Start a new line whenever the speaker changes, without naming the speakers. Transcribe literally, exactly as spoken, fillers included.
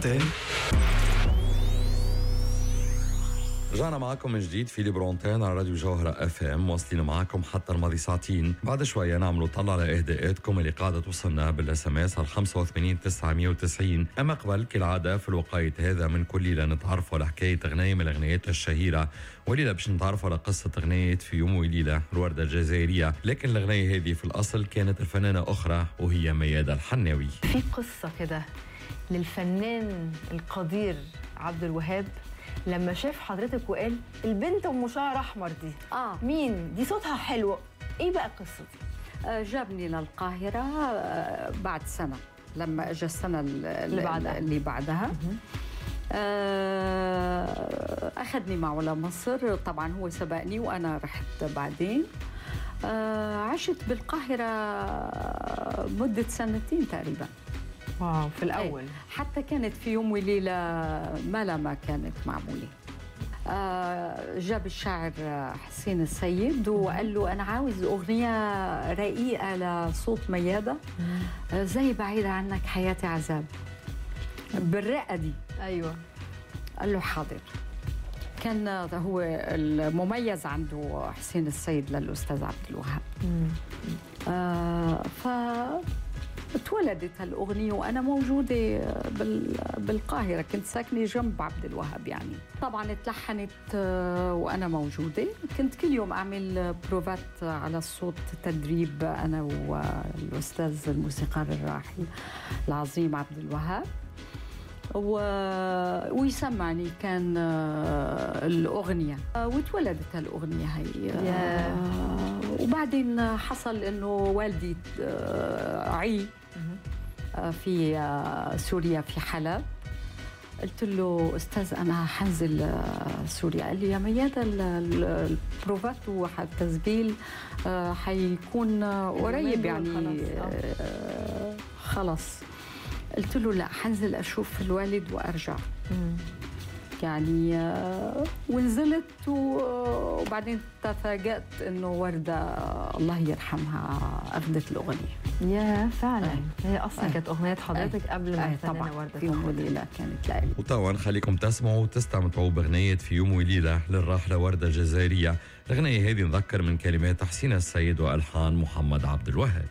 antenne.
رجعنا معاكم من جديد في libre antenne على راديو جوهرة اف ام، واصلين معاكم حتى الماضي ساعتين. بعد شوية نعملوا طلع على اهداءاتكم اللي قاعدة توصلنا بال SMS على خمسة وثمانين تسعمية وتسعين. اما قبل كالعادة في الوقاية هذا من كل ليلة نتعرفوا على حكاية غنية من الاغنيات الشهيرة، وليلة باش نتعرفوا على قصة غنية في يوم وليلة الوردة الجزائرية، لكن الغنية هذه في الأصل كانت الفنانة أخرى وهي ميادة الحناوي.
في قصة كده للفنان القدير عبد الوهاب لما شاف حضرتك وقال البنت ام شعر احمر دي آه. مين دي؟ صوتها حلو. ايه بقى القصة دي؟
آه جابني للقاهره آه بعد سنة، لما اجى السنة اللي بعدها, اللي بعدها. آه اخذني معه لمصر، طبعا هو سبقني وانا رحت بعدين. آه عشت بالقاهرة مده سنتين تقريبا.
واو، في الأول.
أي. حتى كانت في يوم وليلة ما لا ما كانت معمولة. آه جاب الشاعر حسين السيد وقال له أنا عاوز أغنية رقيقة لصوت ميادة آه زي بعيدة عنك حياتي عذاب، بالرقة دي.
أيوة.
قال له حاضر. كان هو المميز عنده حسين السيد للأستاذ عبد الوهاب. آه ف اتولدت هالأغنية وأنا موجودة بالقاهرة، كنت ساكنة جنب عبد الوهاب يعني. طبعاً اتلحنت وأنا موجودة، كنت كل يوم أعمل بروفات على الصوت، تدريب أنا والأستاذ الموسيقار الراحل العظيم عبد الوهاب، و... ويسمعني كان الأغنية، واتولدت هالأغنية هي. yeah. وبعدين حصل إنه والدي عي في سوريا في حلب. قلت له أستاذ أنا حنزل سوريا. قال لي يا ميادة البروفات والتسجيل حيكون قريب يعني خلاص. قلت له لا، حنزل أشوف الوالد وأرجع. مم. يعني ونزلت، وبعدين تفاجأت إنه وردة الله يرحمها أخذت الأغنية.
يا فعلا. هي أصلا كانت أغنية حضرتك قبل ما الفنانة وردة.
في يوم وليلة كانت لإلي.
وطبعا خليكم تسمعوا وتستمتعوا بأغنية في يوم وليلة للراحلة وردة الجزائرية. الأغنية هذه نذكر من كلمات حسين السيد وألحان محمد عبد الوهاب.